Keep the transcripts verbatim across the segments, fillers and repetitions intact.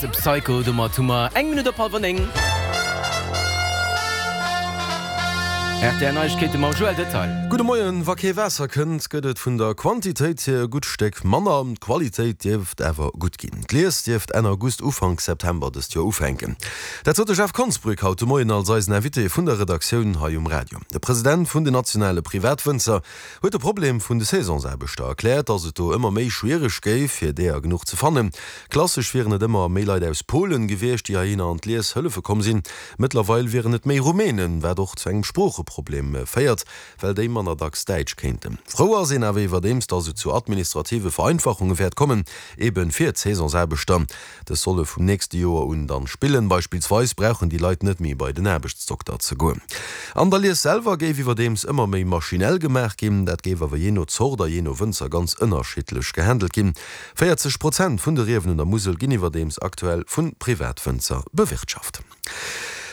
Psycho. Domat hu mer eng Minutt op hallwer néng. Rtl Neiegkeete mam Joël Detail. Gudde Moien, Wa kee Waasser kënnt, gëtt et vun der Quantitéit hier e gutt Stéck manner. D'Qualitéit dierft awer gutt ginn. D'Lies dierft Enn August, Ufank September dëst Joer ufänken. Dat sot de Jeff Konsbrück haut de Moien als eisen Invité vun der Redaktioun hei um Radio. De President vun den nationale Privatwënzer huet de Problem vun de Saisonsaarbechter erkläert, datt et do ëmmer méi schwiereg géif, fir deeër genuch ze fannen. Klassesch wieren et ëmmer méi Leit aus Polen gewiescht, déi heihinner an d'Lies hëllefe komm sinn. Mëttlerweil wieren et méi Rumänen, wat och zu engem Sproocheproblem féiert, well déi manner dacks Däitsch kéinten. Frou ass een awer iwwerdeems, datt et zu administrative Vereinfachunge wäert kommen, ebe fir d'Saisonsaarbechter. Dës solle vum nächste Joer un dann spillen. Beispillsweis brauchen déi Leit net méi bei den Aarbechtsdokter ze goen. An der Lies selwer géif iwwerdeems ëmmer méi maschinell gemaach ginn. Dat géif awer jee no Zort a jee no Wënzer ganz ënnerschiddlech gehandelt ginn. véierzeg Prozent vun de Riewen un der Musel ginn iwwerdeems aktuell vu Privatwënzer bewirtschaft.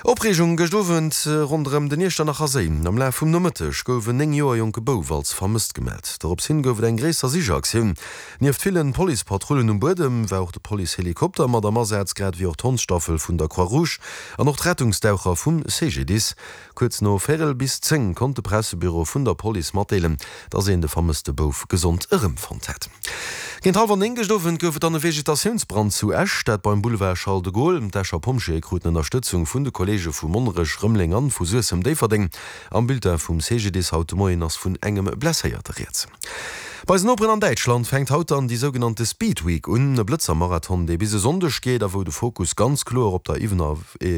Opreegung gëscht Owend ronderëm den Iechternacher Séi. Am Laf vum Nomëtteg gouf en néng Joer jonke Bouf als vermësst gemellt. Dorops hin gouf et eng gréisser Sichaktioun. Nieft villen Policepatrullen um Buedem war och de Policehelikopter mat am Asaz, grad ewéi och d'Hondsstaffel vun der Croix-Rouge an och d'Rettungsdaucher vum C G D I S. Kuerz no véierel bis zéng konnt de Pressebüro vun der Police matdeelen, dass een de vermësste Bouf gesond erëmfonnt hätt. Géint hallwer néng gëscht Owend gouf et dann e Vegetatiounsbrand zu Esch, dat beim Boulevard Charles de Gaulle. D'Escher Pompjeeë kruten Ënnerstëtzung vun de Kolleege vu Monnerech, Rëmeleng an vu Suessem-Déifferdeng. Am Bulletin vum C G D I S haut de Moien ass vun engem Blesséierte rieds. Bei eisen Noperen an Däitschland fänkt haut dann déi sougenannte Speed Week un, e Blëtzer-Marathon, dee bis e Sonndeg geet a wou de Fokus ganz kloer op der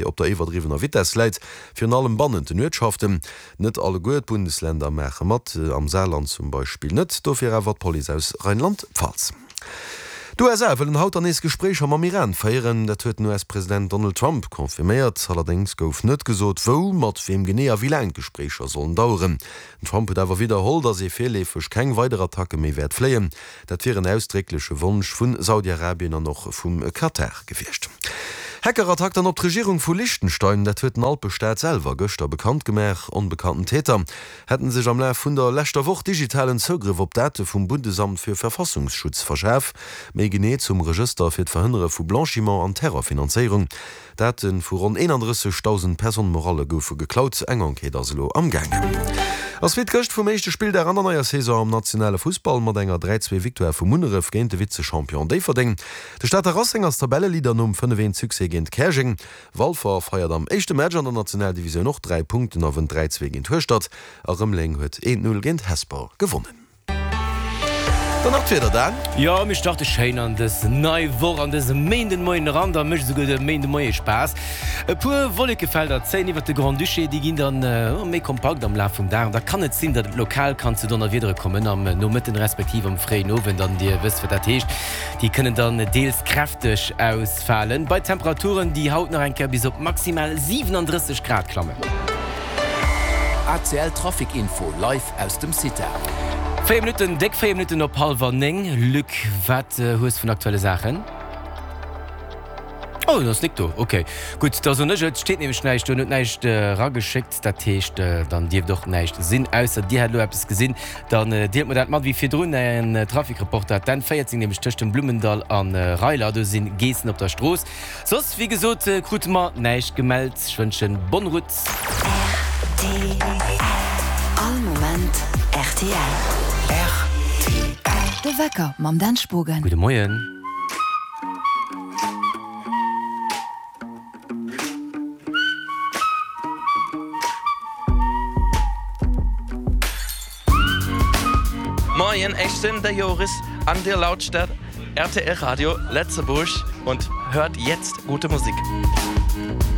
op der iwwerdriwwener Vitess läit, virun allem bannent den Uertschaften. Net alleguer d'Bundesländer maache mat, am Saarland zum Beispill net, dofir awer d'Police aus Rheinland-Pfalz. D'U S A wëllen haut dann nees Gespréicher mam Iran féieren, dat huet den U S-President Donald Trump confirméiert. Allerdéngs gouf net gesot, wou, mat weem genee a wéi laang d'Gespréicher sollen daueren. Den Trump huet awer widderholl, datt ee virleefeg keng weider Attacke méi wäert fléien. Dat wier en ausdréckleche Wonsch vu Saudi-Arabien an och vum Katar gewiescht. Hackerattack dann op d'Regierung vu Liechtenstein, dat huet den Alpestaat selwer gëschter bekannt gemaach. Onbekannten Täter hätte sech am Laf vun der leschter Woch digitalen Zougrëff op Date vum Bundesamt für Verfassungsschutz verschaf, méi genee zum Regëster fir d'Verhënnere vu Blanchiment an Terrorfinanzéierung. Date vu ronn eenandrëssegdausend Personnes morales goufe geklaut, eng Enquête ass elo am gaangen. Ass wéi gëscht vum éischte Spilldag an der neier Saison am nationale Fussball mat enger dräi-zwee Victoire vu Munneref géint de Vize-Champion Déifferdeng. De Stater Racing ass Tabelleleader nom fënnef-eent Succès géint Käerjeng. Walfer feiert am éischte Match an der Nationaldivisioun och dräi Punkten a wënnt dräi-zwee géint Hueschtert a Rëmeleng huet eent-null géint Hesper gewonnen. Dann nach d'Wieder, Dan. Jo, mir starte schéin an dës nei Woch, an dëse Méindemoien eran, da mécht esouguer de Méindemoie Spaass. E puer Wollekefelder zéien iwwert de Grand-Duché, déi ginn dann méi kompakt am Laf vum Dag an da kann et sinn, datt et lokal kann zu Donnerwiedere kommen am Nomëtten respektiv am fréien Owend an Dir wësst, wat dat heescht, déi kënnen dann deels kräfteg ausfalen bei Temperaturen, déi haut nach eng Kéier bis op maximal siwenandrësseg Grad klammen. A C L Trafic Info live aus dem CITA. Véier Minutten, déck véier Minutten op hallwer néng. Luc, wat hues vun aktuelle Saachen? Oh, et ass nik do. Ok, gutt, da soen ech et. Steet nämlech näischt do, en huet näischt erageschéckt. Dat heescht, dann dierft och näischt sinn, ausser dir hätt elo eppes gesinn. Dann deelt mer dat mat. Wéi virdrun en Trafic-Reporter, d'N véierzéng nämlech tëscht dem Blummendall a Reiler, do si Geessen op der Strooss. Soss, wéi gesot, krute mer näischt gemellt. Ech wënschen bonne route. R T L. All Moment R T L. R T L. De Wecker mam Dan Spogen. Gudde Moien. Moien, ech sinn de Joris an dir lauschtert R T L Radio Lëtzebuerg und hört jetzt gute Musik.